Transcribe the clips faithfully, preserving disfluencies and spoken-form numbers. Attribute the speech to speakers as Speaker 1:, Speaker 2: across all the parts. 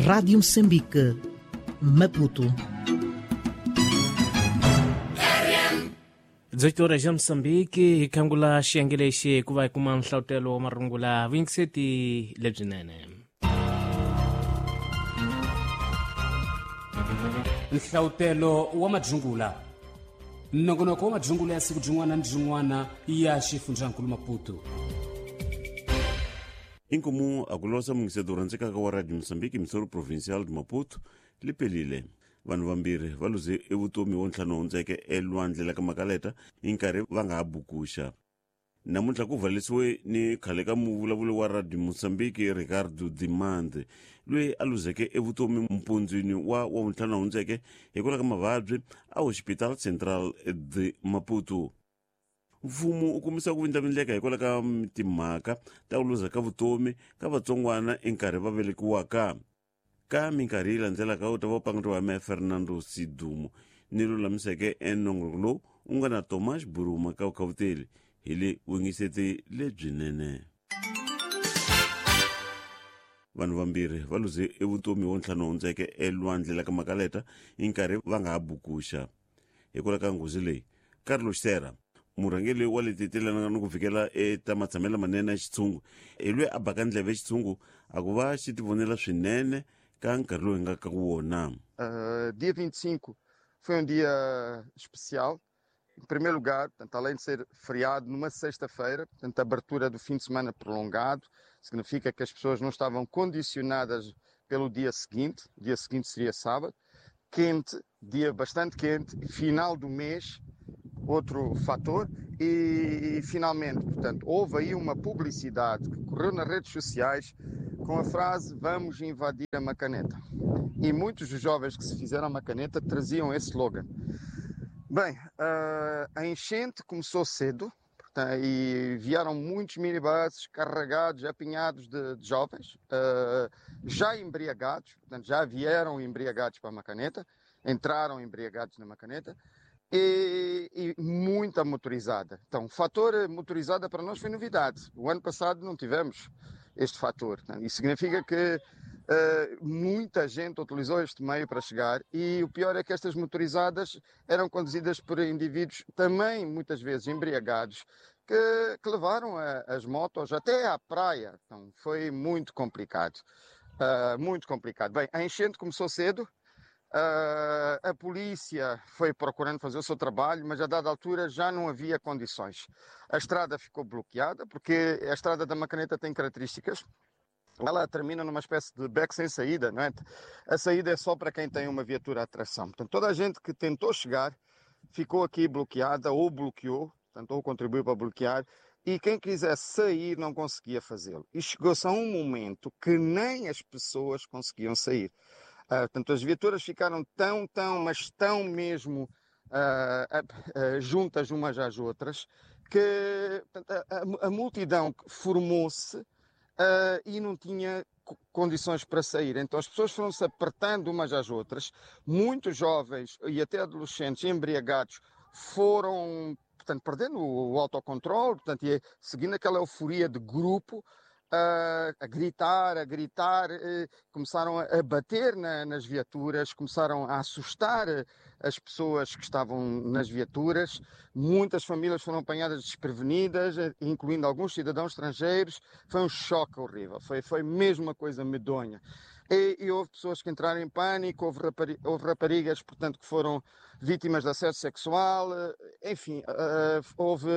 Speaker 1: Rádio Moçambique, Maputo.
Speaker 2: dezoito horas ya Moçambique, hi khangula xiyenge lexi hikuva hi kuma nhlavutelo wa marungula vuyingiseti lebyinene.
Speaker 3: Nhlavutelo wa madzungula. Nongonoko wa madzungula ya siku byin'wana ni byin'wana ya xifundzankulu Maputo.
Speaker 4: Inkomu akulosa mungiseto rhandzekaka wa Radio Moçambique Missouri Provincial de Maputo liphelile. Vanhu vambirhi va luze evutomi wo ntlhanu hundzeke elwandle la ka Makaleta hi nkarhi va nga ha bukuxa. Namuntlha ku valisiwe ni khale ka muvulavuli wa Radio Moçambique Ricardo Dimande loyi a luzeke evutomi mpundzwini wa wa vuntlhanu hundzeke hikwalaho ka mavabyi a Hospital Central de Maputo. Mfumo u kumisa ku vindlavindleka hikwalaho ka timhaka ta ku luza ka vutomi ka vatsongwana enkarhi va velekiwaka. Ka minkarhi yi landzelaka u ta va panguriwa hi Fernando Sidumo ni lulamiseke enongonoko lowu u nga na Thomas Buruma ka vukhavuteli hi le vuyingiseti lebyinene. Vanhu vambirhi va luze evutomi wo ntlhanu hundzeke elwandle la ka Makaleta hi nkarhi va nga ha bukuxa. Hikwalaho ka nghozi leyi, Carlos Serra, murhangeri wa leti telanaka ni ku fikela eta matshamelo manene ya xitshungu, hi loyi a baka ndleve xitshungu a ku va xi tivonela swinene ka nkarhi lowu hi nga ka wona.
Speaker 5: Uh, dia vinte e cinco foi um dia especial. Em primeiro lugar, portanto, além de ser feriado numa sexta-feira, portanto, a abertura do fim de semana prolongado, significa que as pessoas não estavam condicionadas pelo dia seguinte, o dia seguinte seria sábado, quente, dia bastante quente, final do mês, outro fator, e, e finalmente, portanto, houve aí uma publicidade que correu nas redes sociais com a frase "Vamos invadir a Macaneta". E muitos dos jovens que se fizeram a Macaneta traziam esse slogan. Bem, a enchente começou cedo, portanto, e vieram muitos minibuses carregados, apinhados de, de jovens, já embriagados, portanto, já vieram embriagados para a Macaneta, entraram embriagados na Macaneta, e, e muita motorizada. Então, o fator motorizada para nós foi novidade. O ano passado não tivemos este fator. Isso significa que Uh, muita gente utilizou este meio para chegar, e o pior é que estas motorizadas eram conduzidas por indivíduos também muitas vezes embriagados que, que levaram a, as motos até à praia. Então foi muito complicado, uh, muito complicado. Bem, a enchente começou cedo, uh, a polícia foi procurando fazer o seu trabalho, mas a dada altura já não havia condições. A estrada ficou bloqueada, porque a estrada da Macaneta tem características. Ela termina numa espécie de beco sem saída, não é? A saída é só para quem tem uma viatura à tração. Portanto, toda a gente que tentou chegar ficou aqui bloqueada ou bloqueou, portanto, ou contribuiu para bloquear, e quem quisesse sair não conseguia fazê-lo. E chegou-se a um momento que nem as pessoas conseguiam sair. Ah, portanto, as viaturas ficaram tão, tão, mas tão mesmo ah, ah, juntas umas às outras, que portanto, a, a, a multidão formou-se Uh, e não tinha condições para sair. Então as pessoas foram-se apertando umas às outras. Muitos jovens e até adolescentes embriagados foram, portanto, perdendo o autocontrole, portanto, e seguindo aquela euforia de grupo, uh, a gritar, a gritar, uh, começaram a bater na, nas viaturas, começaram a assustar as pessoas que estavam nas viaturas. Muitas famílias foram apanhadas desprevenidas, incluindo alguns cidadãos estrangeiros. Foi um choque horrível, foi, foi mesmo uma coisa medonha. E, e houve pessoas que entraram em pânico, houve, rapari, houve raparigas, portanto, que foram vítimas de assédio sexual, enfim, uh, houve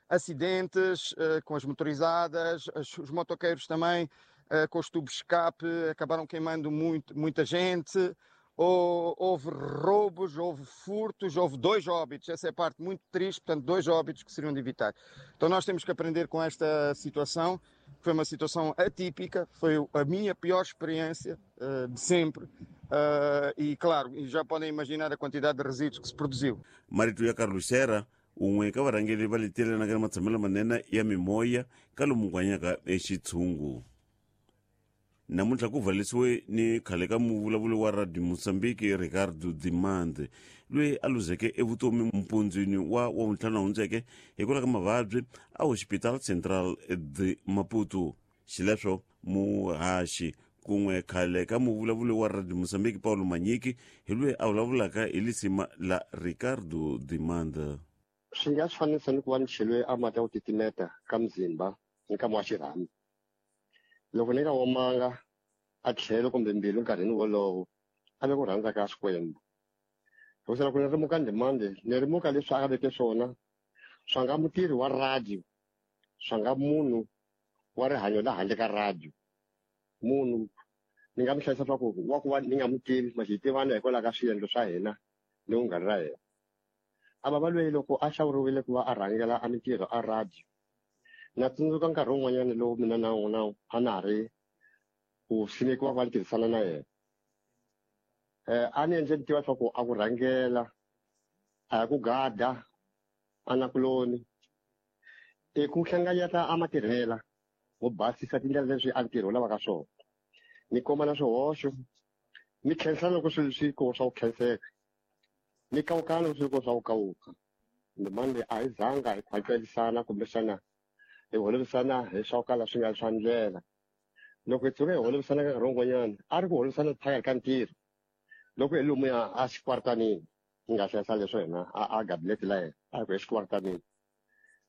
Speaker 5: acidentes uh, com as motorizadas, as, os motoqueiros também, uh, com os tubos de escape, acabaram queimando muito, muita gente. Ou, houve roubos, houve furtos, houve dois óbitos. Essa é a parte muito triste, portanto, dois óbitos que seriam de evitar. Então nós temos que aprender com esta situação, que foi uma situação atípica, foi a minha pior experiência uh, de sempre. Uh, e claro, já podem imaginar a quantidade de resíduos que se produziu.
Speaker 4: Marito ya Carlos Serra, un'we ka varhangeri va leti na matshamelo manene ya mimoya ka lomu ku hanyaka exitshungu. Namuntlha ku valisiwe ni khale ka muvulavuli wa Radio Moçambique Ricardo Dimande loyi a luzeke evutomi mpundzwini wa wa vuntlhanu hundzeke hikwalaho ka mavabyi a Hospital Central de Maputo. Xileswo muhaxi Kun'we khale ka muvulavuli wa Radio Mozambique Paulo Manyiki hi loyi a vulavulaka hi lisima la Ricardo Dimanda.
Speaker 6: Swi nga swi fanisa ni ku va ni cheliwe a mati ya ku titimeta ka mzimba nkama wa xirhami. Loko ni nga omanga a tlhelo kumbe mbilu nkarhini wolowo a ve ku rhandza ka Xikwembu. Hikuva loko ni rimuka Ndimande ni rimuka leswi a veke swona swa nga mutirhi wa radio, swa nga munhu wa rihanyo la handle ka radio. Munhu ni nga mi hlayisa swa ku wa ku va ni nga mu tivi ma xi tivana hikwalaho ka swiendlo swa hina ni vunghana ra hina. A va va lweyi loko a hlawuriwile ku va a rhangela a mintirho a radio. Na tsundzuka nkarhi wun'wanyana lowu mina na n'wina a na ha ri ku simekiwa ku va ni tirhisana na yena. Eh a ni endle ni tiva swa ku a ku rhangela a ya ku gada a nakuloni i ku hlanganyeta a matirhela wo basisa tindlela leswi a ntirho wu lavaka swona. Ni komba na swihoxo, ni khensa loko swilo swi ko swa ku khenseka, ni kawukana loko swi ko swa ku kawuka. Ndimande a hi zanga hi khwacelisana kumbexana hi holovisana hi swa ku kala swi nga swa ndlela. Loko hi tshuka hi holovisana ka nkarhi wun'wanyana a ri ku holovisana phakathi ka ntirho. Loko hi lomuya a xikwartanini ni nga hlayisa leswo hina a a gabinete la yena a hi ku exikwartanini.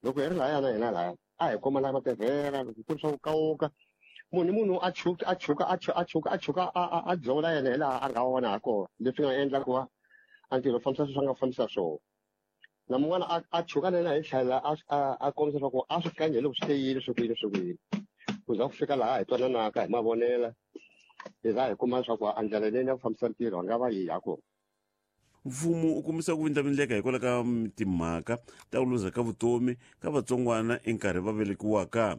Speaker 6: Loko hi ri lahaya na hina lahaya a hi komba la matirhela loko ku ri swa ku kawuka munhu ni munhu a chuka a chuka a chuka a chuka a chuka a a dzola yena hi laha a nga vona ha kona leswi nga endla ku va a ntirho fambisa sweswi a nga fambisa swona. Na mun'wana a a chuka na yena hi tlhela a a a kombisa swa ku a swi kanje loko swi te yini swi ku yini swi ku yini. Ku za ku fika laha hi twananaka hi mavonela hi za hi kuma leswaku a ndlela leyi ya ku fambisa ntirho a nga va yi ha kona.
Speaker 4: Mfumo u kombisa ku vindlavindleka hikwalaho ka timhaka ta ku luza ka vutomi ka vatsongwana enkarhi va velekiwaka.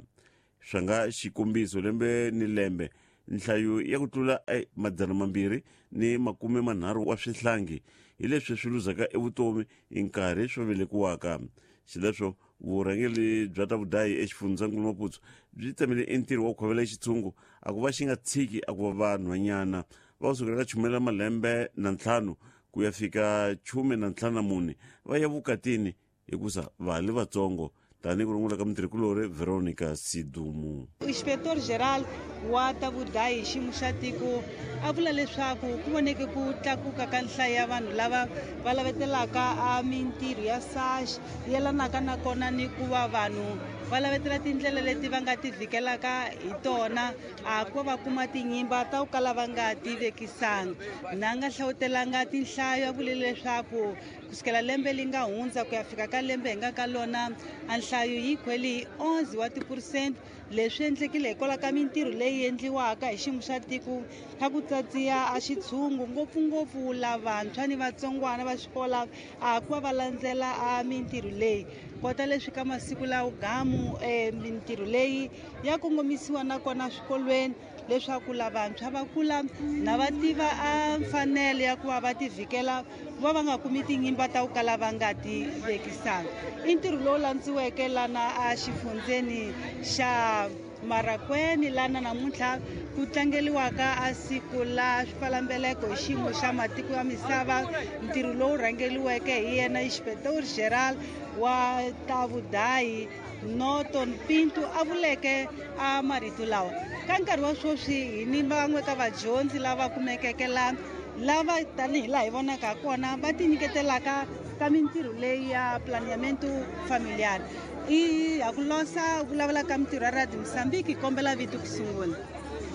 Speaker 4: Swa nga xikombiso lembe ni lembe nhlayo ya ku tlula madzana mambirhi ni makume manharhu wa swihlangi hi leswi swi luzaka evutomi hi nkarhi swo velekiwaka. Xileswo vurhangeri bya ta vudayi exifundzhankulu Maputo byi tsemile entirho wa ku khovela xitshungu a ku va xi nga tshiki a ku va vanhwanyana va kusukela ka chumela malembe na ntlhanu ku ya fika chume na ntlhanu na mune va ya vukatini hikusa va ha li vatsongo. Tanihi ku rungula ka mutirhikulori Veronica Sidumu.
Speaker 7: Inspector Geral wa ta vudayi xiyimo xa tiko a vula leswaku ku voneke ku tlakuka ka nhlayo ya vanhu lava va lavetelaka a mintirho ya S A X yelanaka na kona ni ku va vanhu va lavetela tindlela leti va nga ti vhikelaka hi tona a ku va kuma tinyimba ta ku kala va nga ti vekisanga. Na nga hlawutelanga tinhlayo a vule leswaku kusukela lembe li nga hundza ku ya fika ka lembe hi nga ka lona a nhlayo yi khweli hi onze wa tiphurusente. Leswi endlekile hikwalaho ka mintirho leyi endliwaka hi xiyimo xa tiko xa ku tsatsiya a xitshungu ngopfungopfu lavantshwa ni vatsongwana va xikola a ku va va landzela a mintirho leyi. Kota leswi ka masiku lawa gamu mintirho leyi ya kongomisiwa nakona swikolweni leswaku lavantshwa va kula na va tiva a mfanelo ya ku va va ti vhikela ku va va nga kumi tinyimba ta ku kala va nga ti vekisanga. I ntirho lowu landziweke lana a xifundzeni xa Marakweni lana namuntlha ku tlangeliwaka a siku la swipfalambeleko hi xiyimo xa matiko ya misava. Ntirho lowu rhangeliweke hi yena Inspector Geral wa ta vudayi Norton Pinto a vuleke a marito lawa. Ka nkarhi wa sweswi hi ni van'we ka vadyondzi lava kumekeke la lava tanihi laha hi vonaka kona va tinyiketelaka ka mintirho leyi ya planeamento familiar. I ha ku losa vulavula ka mintirho ya Radio Mozambique hi kombela vito ku sungula.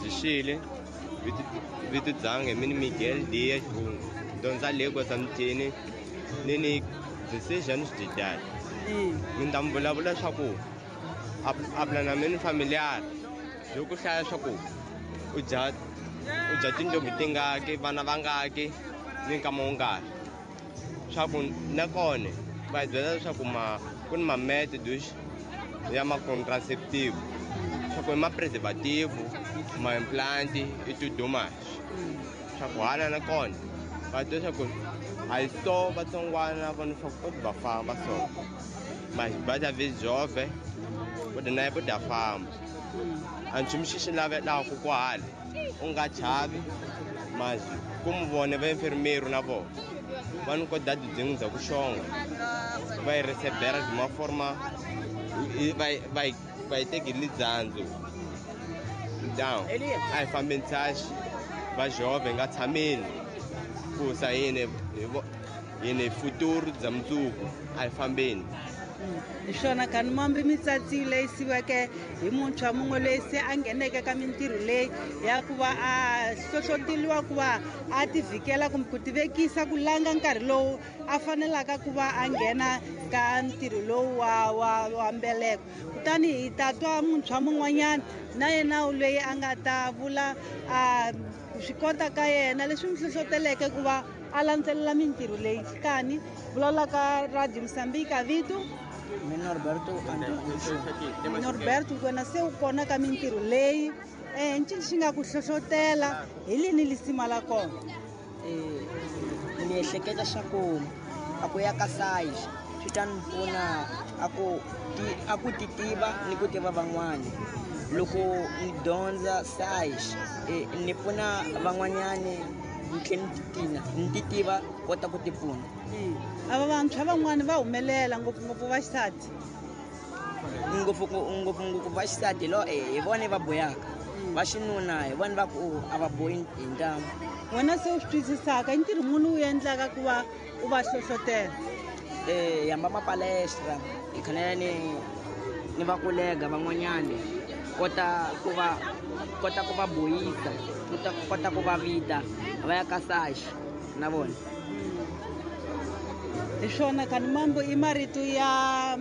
Speaker 8: Zishile vito dzange mini Miguel Dias Bungu dyondza le Gwasamtini ni ni decisions de idade. Mi ta mi vulavula swa ku a planeamento familiar byo ku hlaya swa ku u dya u dya tintombi tingaki vana vangaki ni nkama wungaki swa ku nakona va hi byela leswaku ma ku ni ma-methods ya ma-contraceptive swa ku i ma-preservative ma-implant i ti-domas swa ku hala nakona va twa swa ku a hi so vatsongwana vona swa ku va famba so mas va ta vizove ku na yi ta famba a nchumu xi xi lavelaku kwahala u nga chavi mas ku mi vone va infermeiro na vona va ni kota tidzingo bya ku xonga va yi recebera de uma forma va va va yi teki lidzandzu Então a hi fambeni SASH va jovem nga tshameni ku sa yini yini futuro bya mundzuku a hi fambeni.
Speaker 7: Hi swona kani mambi mitsatsi leyi siweke hi muntshwa mun'we loyi se a ngheneke ka mintirho leyi ya ku va a hlohloteliwa ku va a tivhikela kumbe ku tivekisa ku langa nkarhi lowu a fanelaka ku va a nghena ka ntirho lowu wa wa wa mbeleko. Kutani hi ta twa muntshwa mun'wanyana na yena loyi a nga ta vula a swi kota ka yena leswi n'wi hlohloteleke ku va a landzelela mintirho leyi. Kani vulavula ka Radio Mozambique vito
Speaker 9: Norberto Antonio.
Speaker 7: Norberto wena se u kona ka mintirho leyi eh ncini xi nga ku hlohlotela hi lini lisima la kona?
Speaker 9: Eh ni ehleketa swa ku a ku ya ka SASH swi ta ni pfuna a ku a ku ti tiva ni ku tiva van'wana. Loko ni dyondza SASH ni pfuna van'wanyani ni tlhela ni titina ni ti tiva kota ku ti pfuna.
Speaker 7: Ava vantshwa van'wani va humelela ngopfungopfu va xisati
Speaker 9: ngopfu ngopfungopfu va xisati lo hi vona va boyaka va xinuna hi vona va ku a va boyi hi ntamu.
Speaker 7: Wena se u swi twisisaka i ntirho muni wu endlaka ku va u va hlohlotela?
Speaker 9: Eh hamba mapalestra hi khanele ni ni va kolega van'wanyani kota ku va kota ku va boyisa kota kota ku va vita va ya ka SASH na vona.
Speaker 7: Hi swona kani mambo i marito ya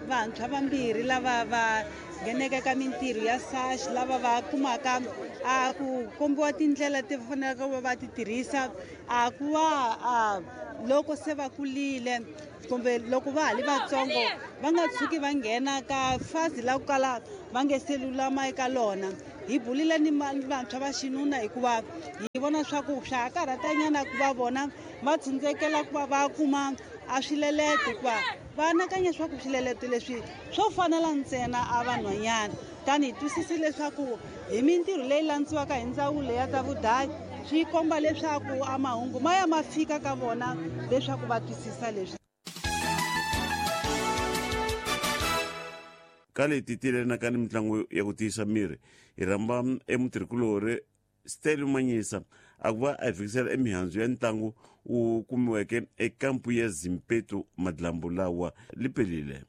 Speaker 7: vantshwa vambirhi lava va ngheneke ka mintirho ya SASH lava va kumaka a ku kombiwa tindlela ti faneleke ku va va ti tirhisa a ku va a loko se va kulile kumbe loko va ha li vatsongo va nga tshuki va nghena ka fazi la ku kala va nge se lulama eka lona. Hi bulile ni vantshwa va xinuna hikuva hi vona swa ku swa ha karhatanyana ku va vona va tsindzekela ku va va kuma a swileleto hikuva va anakanya swa ku swileleto leswi swo fanela ntsena a vanhwanyana. Tani hi twisisi leswaku hi mintirho leyi landziwaka hi ndzawulo ya ta vudayi swi komba leswaku a mahungu ma ya ma fika ka vona leswaku va twisisa leswi.
Speaker 4: Ka leti tilenaka ni mitlangu ya ku tiyisa miri hi rhamba emutirhikulori Stelo Manyisa a ku va a hi fikisela emihandzu ya ntlangu wu kumiweke ekampu ya Zimpeto madlambu lawa lipelile.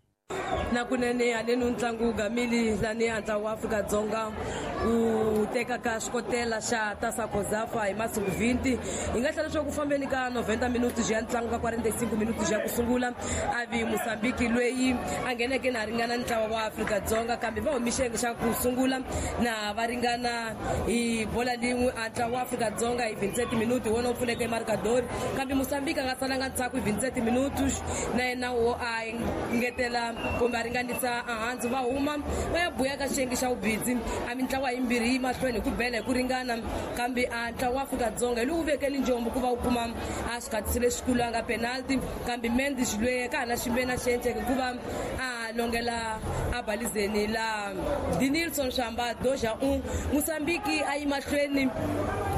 Speaker 10: Na kunene haleni ntlangu wu gamile lani a ntlangu wa Afrika-Dzonga wu tekaka xikotela xa Tasa Kozafa hi masiku vinti. Hi nga tlhela leswaku ku fambeni ka noventa minutos ya ntlangu ka quarenta e cinco minutos ya ku sungula a vi Mozambique loyi a ngheneke na ringana ntlawa wa Afrika-Dzonga kambe va humi xiyenge xa ku sungula na va ringana hi bola lin'we a ntlawa wa Afrika-Dzonga hi vinti-sete minutos hi wona wu pfuleke marcador kambe Mozambique a nga salanga ndzhaku hi vinti-sete minutos na yena wo a ngetela kumbe a ringanisa ehansi va huma va ya buya ka xiyenge xa vubindzi a mintlawa yimbirhi yi mahlweni hi ku bela hi ku ringana kambe a ntlawa wa Afrika-Dzonga hi lowu vekeli njombo ku va wu kuma a xikhatisi lexikulu a nga penalty kambe Mendes loyi ka ha na ximbena xi endleke hikuva a longela a balizeni la Dinilson Shamba doja un Mozambique a yi mahlweni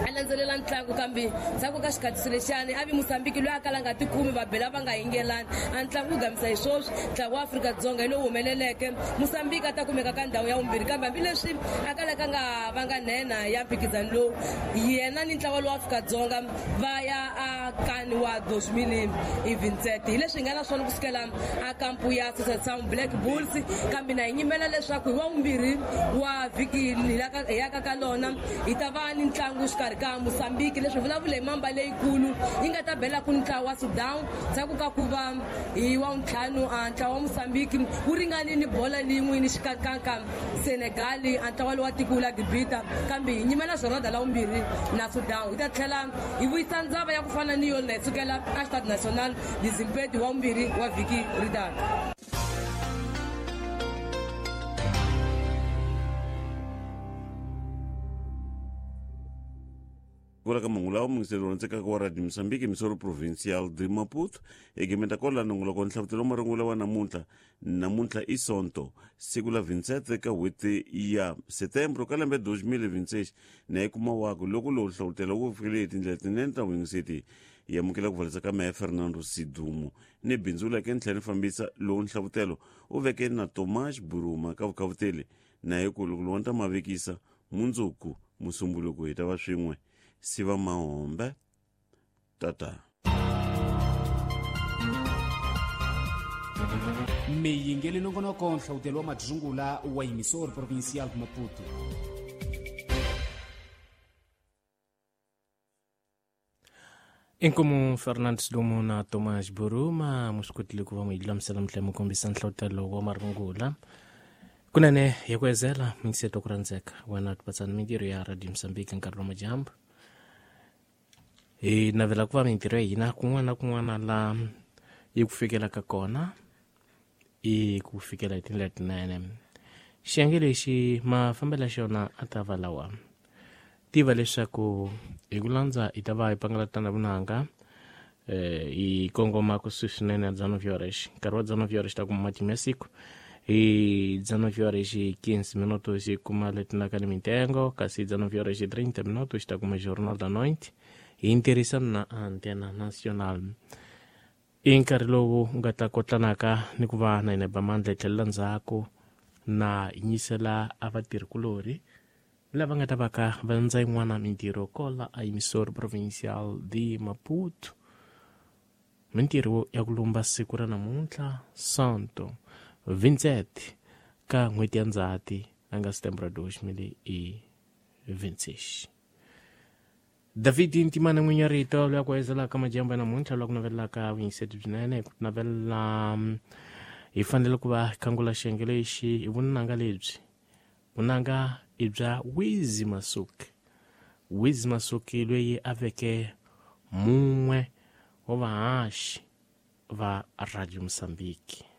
Speaker 10: a landzelela ntlangu kambe ndzhaku ka xikhatisi lexiyani a vi Mozambique loyi a kala nga tikumi va bela va nga yingelani a ntlangu wu gamisa hi swoswi ntlangu wa Afrika-Dzonga hi lowu humeleleke Mozambique a ta kumeka ka ndhawu ya vumbirhi kambe hambileswi a kalaka nga va nga nhenha ya mphikizano lowu yena ni ntlawa lowa Afrika-Dzonga va ya a kani wa dos mil e vinti-sete hi leswi hi nga na swona kusukela a kampu ya Sound Black Bulls kambe na hi nyimela leswaku hi wa vumbirhi wa vhiki hi yaka ka lona hi ta va ni ntlangu xikarhi ka Mozambique leswi vulavula hi mamba leyikulu yi nga ta bela ku ntlawa wa Sudan ndzhaku ka ku va hi wa ntlhanu a ntlawa wa Mozambique wu ringani ni bola lin'we ni xikankanka Senegal a ntlawa lowa tiko la Gibita kambe hi nyimela jornada la vumbirhi na Sudan hi ta tlhela hi vuyisa ndzava ya ku fana ni yona hi sukela a Stade National de Zimpeto wa vumbirhi wa vhiki ri taka.
Speaker 4: Kula ka mahungu lawa muyingiseri rhandzekaka wa Radio Mozambique misoro provincial de Maputo egimeta kwalano nongoloko wa nhlavutelo wa marungula wa namuntlha namuntlha i Sonto siku la vinti-sete ka n'hweti ya Setembro ka lembe dos mil vinti-seis na yi kuma wako loko lowu hlavutelo wu fikile hi tindlela tinene ta vuyingiseti hi amukela ku valisa ka meya Fernando Sidumo ni bindzu leke ni tlhela ni fambisa lowu nhlavutelo u veke na Tomás Buruma ka vukhavuteli na hi ku loko lowani ta mavekisa Mundzuku musumbuluko hi ta va swin'we. Siva mahombe tata.
Speaker 3: Miyingeli nongonoko nhlawutelo wa madzungula wa Emissora Provincial de Maputo.
Speaker 2: Inkomu Fernandes Lumo na Tomás Buruma musikotile ku va mu lulamisela mihla mu kombisa nhlawutelo wa marungula. Kunene hi ku ezela mingiseto ku rhandzeka wena tipatsana mintirho ya Radio Mozambique nkarhi wa madyambu. Hi navela ku va mintirho ya hina kun'wana na kun'wana la yi ku fikelaka kona i ku fikela hi tindlela tinene. Xiyenge lexi mafambelo ya xona a ta va lawa. Tiva leswaku hi ku landza hi ta va hi pangalatana vunanga eh hi kongoma kusuhi swinene na dezenove horas. Nkarhi wa dezenove horas ta kuma matimu ya siku. Hi dezenove horas e quinze minutos hi kuma letinaka ni mitengo, kasi dezenove horas e trinta minutos ta kuma Jornal da Noite hi ntirhisano na Antena Nacional. I nkarhi lowu nga ta kotlanaka ni ku va na hina ba mandla hi tlhelela ndzhaku na hi nyisela a vatirhikulorhi lava nga ta va ka va ndza yin'wana mintirho kola a Emissora Provincial de Maputo. Mintirho ya ku lumba siku ra namuntlha Santo Vincent ka n'hweti ya Ndzhati a nga setembro dois mil e vinte e seis. David Ntimana n'winyi wa rito loyi a ku ezelaka madyambu ya namuntlha loyi a ku navelelaka vuyingiseti byinene hi ku navelela hi fanele ku va khangula xiyenge lexi hi vunanga lebyi. Vunanga i bya Wizi Masuki. Wizi Masuki loyi a veke mun'we wa vahaxi va Radio Mozambique.